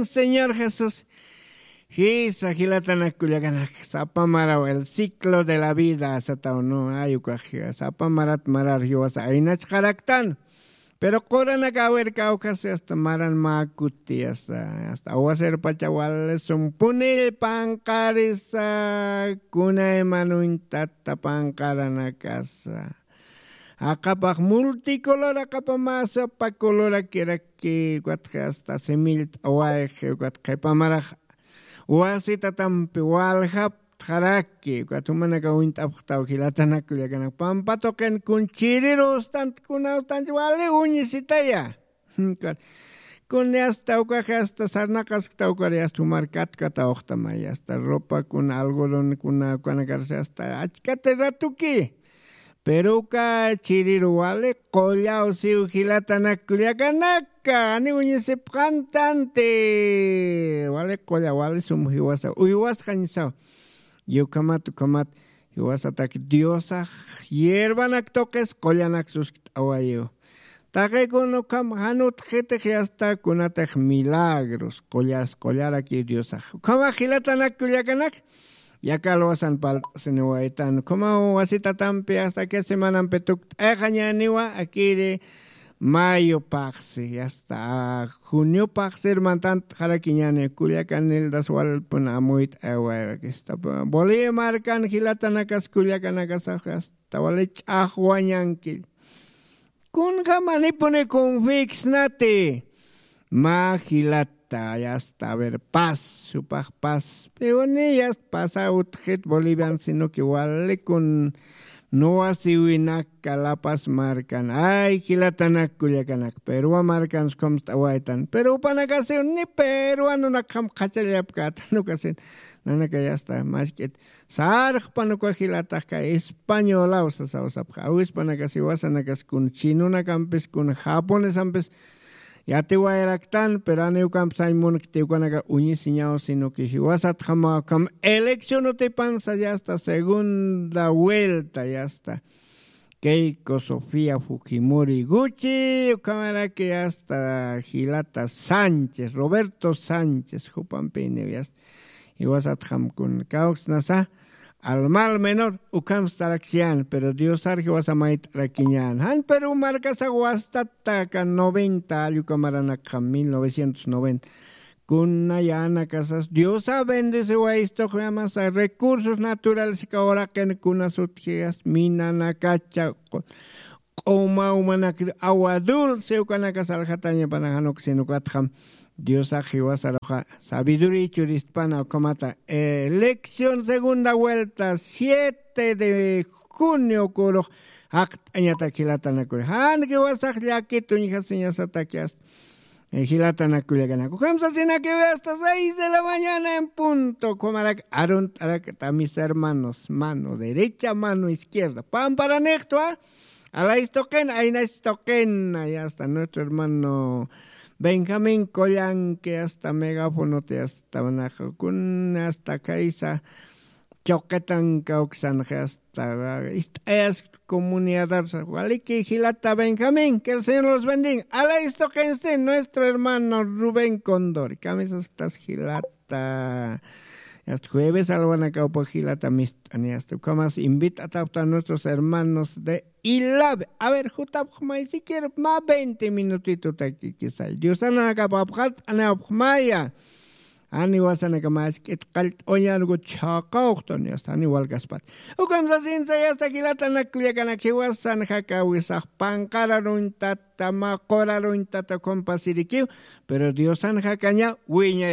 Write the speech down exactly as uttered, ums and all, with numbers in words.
Señor Jesús. Jisa, jilatanak kullakanak, sapa maraw, el ciclo de la vida sataw, no, ay ukax, sapa marat marar jiwasa aynachqaraktan. Pero quranak awirka awkasi hasta maran makuti, hasta, hasta awasirpacha walisum punill panqarisa, kunayman uñtata panqaranakasa. Aqapax multicolor, aqapa mä sapa colorakiraki, ukatxi hasta simillta awayxi, ukat qhipa marax wasitatampi waljaptxaraki, ukat jumanaka uñt'apxtaw jilatanak kullakanak, pampa tuqin kun chiriru ustant, kuna ustanch wali uñisitaya. Kun yasta ukaxi hasta sarnaqaskta ukari hasta jumar katkatawxtamay, hasta ropa kuna algodón kuna ukanakarsi hasta achkati ratuki. Pero uka chiriru wali qullaw siw jilatanak kullakanaka, ani uñisipxantanti. Wali qulla, wali sum jiwasa, uywasxañsaw. Y ukhamat, ukhamat, jiwasatak Diosax hierbanak tuqis qullanak suskt'awayiw. Taqikun ukham jan utjkitix yasta kunatix milagros, qullas, qullaraki Diosax. Ukhamax jilatanak kullakanak, yaka alwasan palt'siniwaytan. Ukhamaw wasitatampi hasta que semanampi tukt'ayxañäniwa, akiri mayo phaxsi, hasta junio phaxsir mantantxarakiñäni, kullakan Nildas walpun amuyt'ayawayarakista. Bolivia markan jilatanakas kullakanakasax hasta wali ch'axwañanki. Kunjamanipuni confiksnati. Mä jilata, yasta, a ver, paz, jupax paz. Piwani, yasta, pasa utjit Bolivian, sino que wali kun nuwasiwinaka La Paz markan. Ay, jilatanak kullakanak. Perua markan skumst'awaytan. Pero jupanakasiw ni peruanunakxam qhachallapkatan ukasin. Nanaka yasta, mask'it. Sarxpan uka jilataxka españolaw sasaw sapxa. Awispanakasi wasanakas kun chinunakampis, kun japonesampis yatiwayaraktan, pero ani ukamp sañ munkti ukanaka uñisiñaw, sino que jiwasatxamaw ukham elección utipansa yasta segunda vuelta yasta. Keiko Sofía Fujimori Gucci, ukhamaraki yasta jilata Sánchez, Roberto Sánchez, jupampiniw yasta. Jiwasatxam kun kawksnasa, al mal menor, ukham starakshan, pero Diosar jiwasa mayt'arakiñan. Jan Perú markasa wastataka noventa, alluka maranakxam, mil novecientos noventa. Kuna yanakasas, Diosa bendeciwaystoq, yamasa recursos naturales ka uraqin kuna sutjias, minanakacha, q'uma umanak, agua dulce, ukanakas aljatañapanak, jan uksin ukatxam Diosax jiwasaruxa sabiduría churistpana ukhamata, eh, elección segunda vuelta, siete de junio kurux jaqt'añatak jilatanakuri. Jan jiwasax llakituñjasiñasataki hasta, eh, jilatanakullakanak. Ukham sasinakiwi hasta seis de la mañana en punto. Ukhamarak arunt'arakta mis hermanos, mano derecha, mano izquierda. Pamparanixtwa, Alays tuqin, aynays tuqin, y hasta nuestro hermano Benjamín Collanque, hasta megafonoti, hasta manaxukun, hasta kaysa, choquetan kawksanxi, hasta ist'ayas comunidad, waliki jilata Benjamín, que el Señor los bendiga. Alays tuqinsti, nuestro hermano Rubén Condori, kamisastas jilata. Hasta jueves alwanakawpa jilata mist'ani, hasta ukhamas invitatapta nuestros hermanos de Ilave. A ver, jutapxmay siquiera mä veinte minutitutaki quizá. Diosanakapapxat anapxmaya. Ani wasanaka mask'it qallt'uñanuku chhaqawxtani, hasta ani walkaspat. Ukham sasinsa, hasta jilatanak kullakanak jiwasan jakawisax panqararuñtata, mä quraruñtata ukham pasirikiw, pero Diosan jakaña wiñaya.